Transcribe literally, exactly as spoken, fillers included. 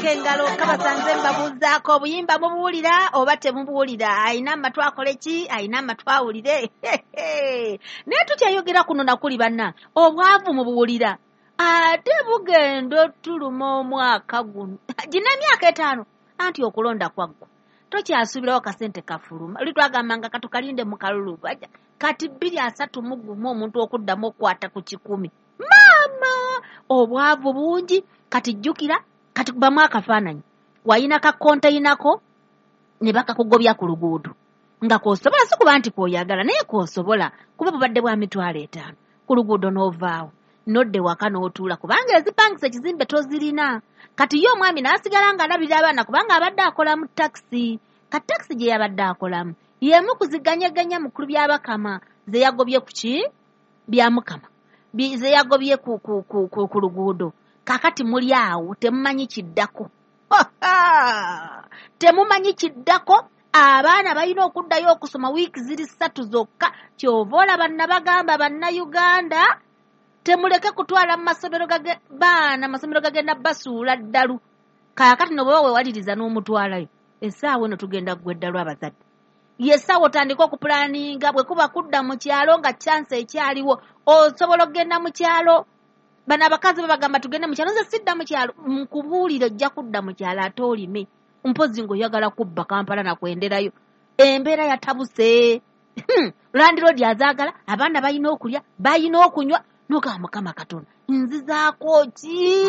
Engalo kabasanze mbabuuzaako, obuyimba mubuwulira oba temubuwulira? Ayina amatu akole ki? Ayina amatu awulire. Naye tukyayogera kuno nakuli banna, obwavu mubuwulira, ate bugenda otuluma omwaka guno gina emyaka etaano anti okulonda kwaggwa, tokyasuubirawo kasente kafuluma. Oli twagambanga katukalinde mu kalulu, kati bbiri asatu mu gumu omuntu okuddamu okukwata ku kikumi. Maama, obwavu bungi. Kati jjukira, kati kubamu akafaananyi, wayina ka konteyinako ne bakakugobya ku luguudo nga k'osobola, si kuba nti k'oyagala naye k'osobola kuba bubadde bwa mitwalo etaano ku luguudo, n'ovaawo nodde waka n'otuula kubanga ezipangisa ekizimbe tozirina. Kati ye omwami n'asigala ng'alabirira abaana kubanga abadde akolamu takisi. Kati takisi gye yabadde akolamu y'emu kuziganyaganya mukulu byabakama ze yagobye ku ki bya mukama ze yagobye ku, ku, ku, ku, ku luguudo. Kakati muli awo temumanyi kiddako, temumanyi kiddako. Abaana balina okuddayo okusoma wiiki ziri ssatu zokka. Kyova olaba nabagamba Bannayuganda temuleke kutwala mu masomero baana, amasomero gagenda basuula ddalu. Kaakati no bw'oba weewaliriza n'omutwalayo, essaawa eno tugenda ggwa eddalu abazadde. Ye essaawa otandike okupulaninga, bwe kuba kudda mu kyalo nga chance ekyaliwo osobola okugenda mu kyalo. Bano abakazi babagamba tugende mu kyalo, nze sidda mu kyalo. Nkubuulire, ojja kudda mu kyalo ate olime, mpozi ng'oyagala kubba Kampala nakwenderayo. Embeera yatabuse, landiroodi azaagala, abaana balina okulya, balina okunywa. Nogamba Mukama Katonda nzizaako ki?